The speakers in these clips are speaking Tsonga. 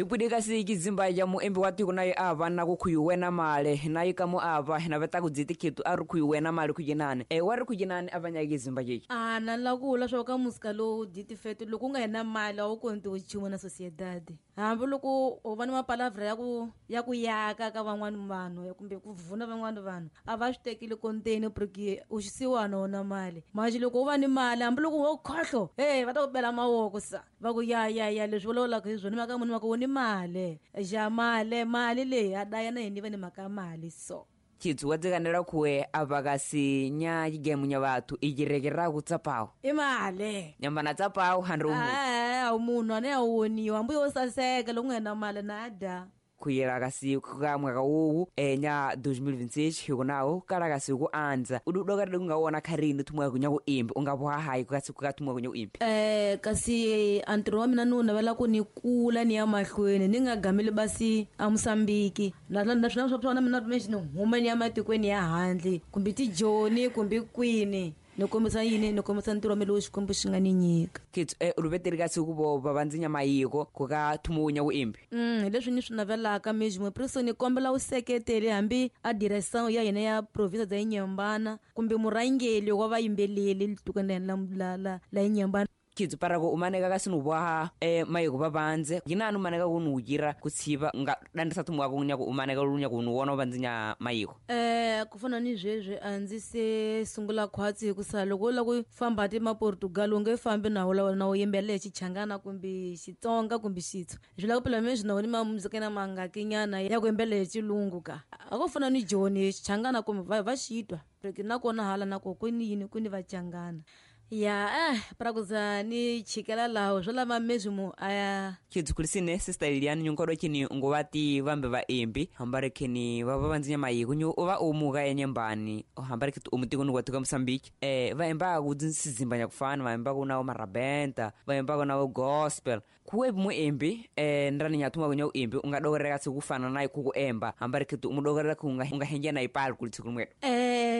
Hipudi kasi kizimba ya muembi wa tiko naye ava na kukhuyu wena male naye kamo ava na veta kudziti khitu a ri khuyu wena male kujinani wa ri kujinani avanya kizimba yeki a na la ku vula swa ka musika lowu ditifete loko u nga hina mali a wu konti u nchumu na sociedad hambi loko u va ni mapalavra ya ku yaka ka van'wani vanhu kumbe ku vuna van'wani vanhu a va swi tekile konteni porque u xisiwana wona mali manje loko u va ni mali hambi loko wo khohlo e va ta ku bela mavoko sa va ku ya ya ya leswi vulavulaka hi swona mhaka munhu mhaka u ni mali ja mali mali leyi a daya na yini va ni mhaka ya mali so Chitsu wadzikanela khuwe ava kasi nya chigemu nya vathu ichirekera kutsapawo i mali nyambana tsapawo handre umunhu a munhu ane a woniwa hambi yo saseka loko u nga na mali na dya khuyela kasi ka mwaka wowu nya 2026 hikunawo kala kasi ku andza udi udokaride kungawona kharini thumwa kunya ku imbi unga hayi kasi ka thumwa kunya ku imbi kasi a ntirho wa mina ni wu navela ku ni kula ni ya mahlweni ni nga gameli basi a Mosambiki naswona swa mina ni huma ni ya matikweni ya handle kumbe tijoni kumbe kwini ni kombisa yini ni kombisa ntirho wa mina lowu Xikwembu xi nga ni nyika Kitsu uluveteri kasi ku vo va vandzinya mayiko ku ka thumunya ku imbi hi leswi ni swi navelaka mejimo preso ni kombela u seketele hambi a direction ya hina ya province dza Inhambane kumbe murhangeri wa vayimbeleli tikweni la Inhambane Kitsu para ku umaneka kasi nuboha mayiko vavanze yinani umaneka ku nuwujira kutsiva nga dandisa thumu wako nyaku umaneka lunya ku nuwona uvanzinya mayiko ku fana ni sweswi a ndzi se sungula khwatsi hikusa loko u lava ku famba ti ma Portugal u nge fambi na wo na wo yimbelela hi Xichangana kumbe Xitsonga kumbe Xitswa swi lava ku phela mina na wona ma muzika na mangakinyana ya ku yimbelela hi Xilungu ka a ko fana ni Joni Xichangana kumbe va xitwa nakona hala nako ku ni yini ku ni Vachangana ya para kuza ni chikela laho swo lava mezimo aya Kitsu kulisine sister Lilian nyunkodo chini ngowati vambe va imbi hambare kini va vanzinya mayiko nyu va umuka enyembani hambare kitu umutiko nukwatuka Mosambiki va imba ku sizimba nyakufana va imba kuna marabenta va imba kuna gospel kuwe mu imbi ndrani nyathuma kunya imbi ungadokereka sikufana naye kuku emba hambare kitu umudokereka kunga ungahenja na ipali kulitsukumwe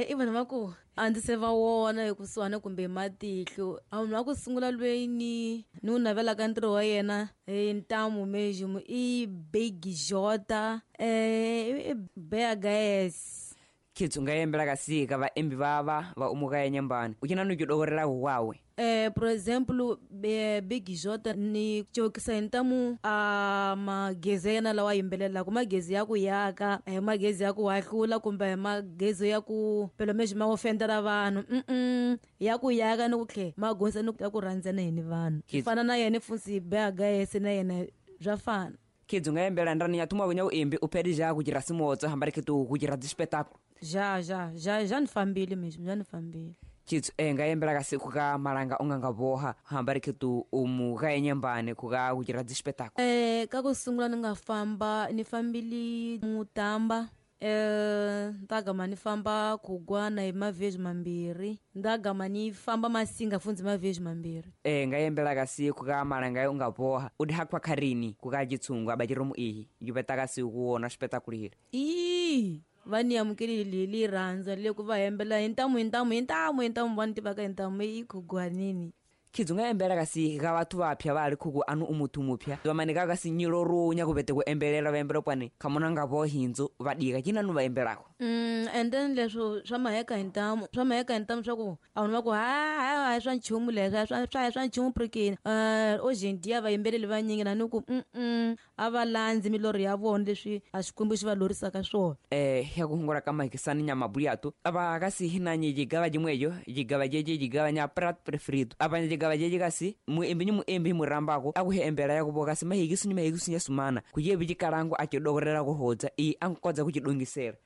i vanhu va ku a ndzi se va wona ekusuhani kumbe matihlo a munhu wa ku sungula lweyi ni wu navelaka ntirho wa yena hi ntamu mejimo i Big Jota i Bea Gaes Kitsu nga yembela kasi ka vaembi vava va umuka enyembani u cina nukidokerelako kwawe por exemplo Big Jota ni cokisa hi ntamu a magezi ya yena lawa yimbelelaka magezi ya ku yaka a hi magezi ya ku hahlula kumbe hi magezi ya ku phela mexi ma ofendela vanhu ya ku yaka ni ku tlhe ma gonisa ni ya ku rhandzana hi ni vanhu fana na yena fusi Bea Gaes na yena bya fana Kitsu nga yembela ndrani ya thuma kunya uimbi uphedi ja kuchira simotso hambari kitu kuchira dzispectacle ja ja ja ja ni fambile mexi ja ni fambile Kitsu nga yembela kasi kuka malanga unganga boha hambari kitu umuka enyembane kuka kuchira dzispectacle ka ku sungula ni nga famba ni fambili Mutamba ndagama ni famba kugwana hi mavhezi mambirhi ndagama ni famba Masinga fundzi mavhezi mambirhi nga yembela kasi kuka malanga unga boha udi hakwa kharini kuka chitsungu abachiromu ihi yupeta kasi kuona spectacle hili ii va ni amukelile li rhandza le ku va hembela hi ntamu hi ntamu hi ntamu hi ntamu va ni tivaka hi ntamu i khugwanini Kitsu nga yembela kasi ka vathu vapya va ri khuku anu umuthu mupya vamanika kasi nyiloro nya kuvete ku embelela va embela kwani khamuna nga vo hindzu va dika cina nu va embelako and then leswo swa maheka hi ntamu swa maheka hi ntamu swa ku a vanhu va ku ha swa nchumu leswi swa nchumu prikini hoje em dia vayimbeleli vanyingi na ni ku a va landzi milorho ya vona leswi a Xikwembu xi va lorisaka swona ya ku hungula ka mahikisani nya mabuyato ava kasi hinanye jigava jimweyo jigava jeje jigava nya prat preferido ava jigava jeje kasi muembi ni muembi murambako akuhe embera ya kuvoka kasi mahikisu ni mahikisu nya sumana kuyebi jikalango achidokorera kuhodza i ankodza kuchidongisera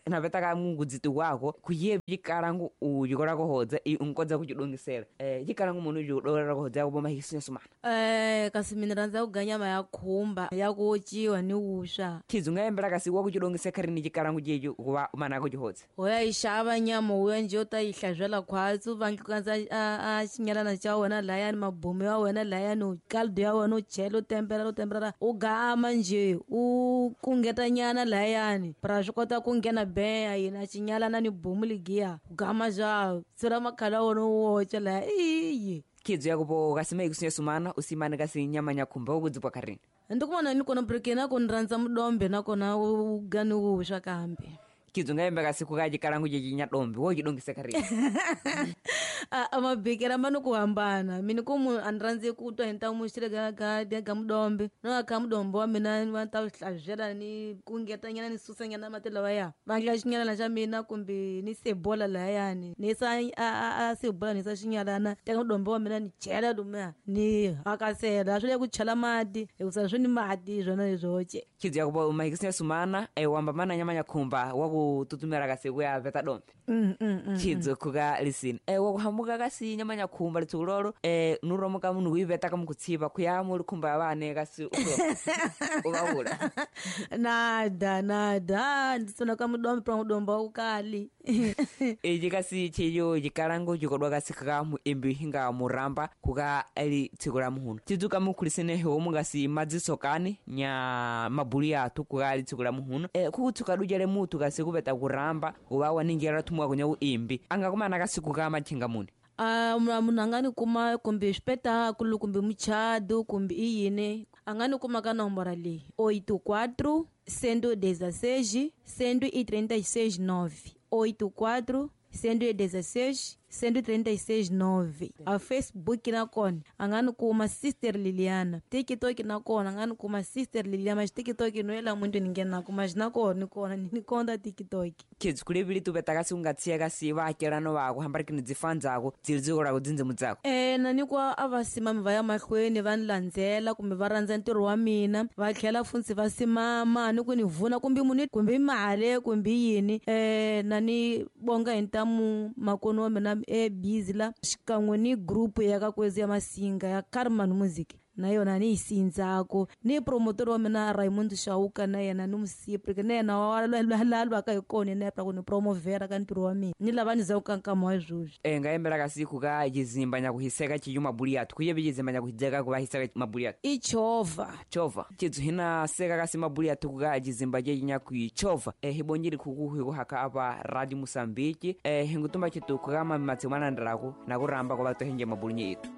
napeta ka mungudziti wako kuyebi jikalango ujikola kuhodza i unkodza kuchidongisera jikalango munu ujidokorera kuhodza yakuvo mahikisu nya sumana kasi mina rhandza ku ganyama ya khumba ya ku ociwa ni wuswa Kitsu nga yembela kasi wa kuchidongisa kharini jikalango jeju kuva mana kuchihodza hoya yi xava nyama wuya nje u ta yi hlabyela khwatsi u va nkatsa a xinyalana xa wena layani mabomu ya wena layani caldo ya wena u chela u tempela u tempela u gama nje u kungeta nyana layani pra swi kota ku nghena beya yina xinyalana ni bomu ligiya u gama xa tsira makhala wona u woca laya iye Khidzo yakupo kasima ikusinya sumana usimane kasi nyama nyakhumba ukudzipwa kharini. Ndikumana ni kona breke na kona rhandza mudombe nakona ugani wuswa kambe. Khidzo ngayembe kasi kukajikalangu jejinya dombe wojidongisa kharini. A mabekera ma ni ku hambana mina ku munhu a ni rhandzi ku twa hi ntamu xile ga mudombe no ka mudombe wa mina va ta hlabyela ni kungetanyana ni susanyana mati lawaya va ndla xinyalana xa mina kumbe ni sebola layani ni sa a sebola ni sa xinyalana teka mudombe wa mina ni chela lumiya ni hakasela swi le ku chela mati hikusa swi ni mati swona leswoce. Khidzo yakupo mahikisinya sumana wamba mana nyama nyakhumba wakututumela kasi kuya veta dombe. Khidzo khuka lisini wakuhamuka kasi nyama nyakhumba litsukulolo nuromoka munhu kuiveta kamukutsiva khuya mulikhumba ya vane kasi uvavula. Nada nditsona ka mudombe pra mudombe wa ukali. Iji kasi chiyo jikalango jikodwa kasi kaka muimbi hinga muramba kuka ali tsiku la muhunu tidzuka mukhulisene homu kasi madzisokani nya mabuli athu kuka ali tsiku la muhunu kukutsuka dujele mutu kasi kupeta kuramba kuva waningela thumwa kunya uimbi angakumana kasi kuka machinga muni. Munhu a nga ni kuma kumbe swipetakulu kumbe muchado kumbe i yini a nga ni kuma ka nomboro leyi 84 116 136 9 84 116 136 9. A Facebook nakona a nga ni kuma Sister Liliana, TikTok nakona a nga ni kuma Sister Liliana, mas TikTok no yela muntu ni nghenaka mas nakona ni kona ni konta TikTok. Khidzo kulevili tupeta kasi ungatsiya kasi vaakelano vako hambarikini dzifandzako dzili dzikolako dzindzimu dzako. Na ni kwa a va simami va ya mahlweni va ni landzela kumbe va rhandza ntirho wa mina va tlhela funtsi va simama ni ku ni vuna kumbe munhu kumbe mali kumbe yini na ni bonga hi ntamu makono wa mina busy la xikan'we ni group ya ka kwezi ya Masinga ya Carmen Music na yona ni yi sindzako ni promoter wa mina Raymond Shauka na yena ni musiprike na yena wa lwaka hi kona yena ku ni promovera ka ntirho wa mina ni lava ni zaku ka nkama wa sweswi. Ngayembela kasi kuka chizimba nyakuhiseka chiyu mabuli athu kuyevi chizimba nyakuhidzeka kuva hiseka mabuli athu i chova chova chidzu hina seka kasi mabuli athu kuka chizimba chechi nyakuichova hibonjeli khukuhi kuhaka apa Radio Mosambiki hingutumba chitu kuka mamatsi mwanandiraku nakuramba kuva tohenje mabuli nyetu.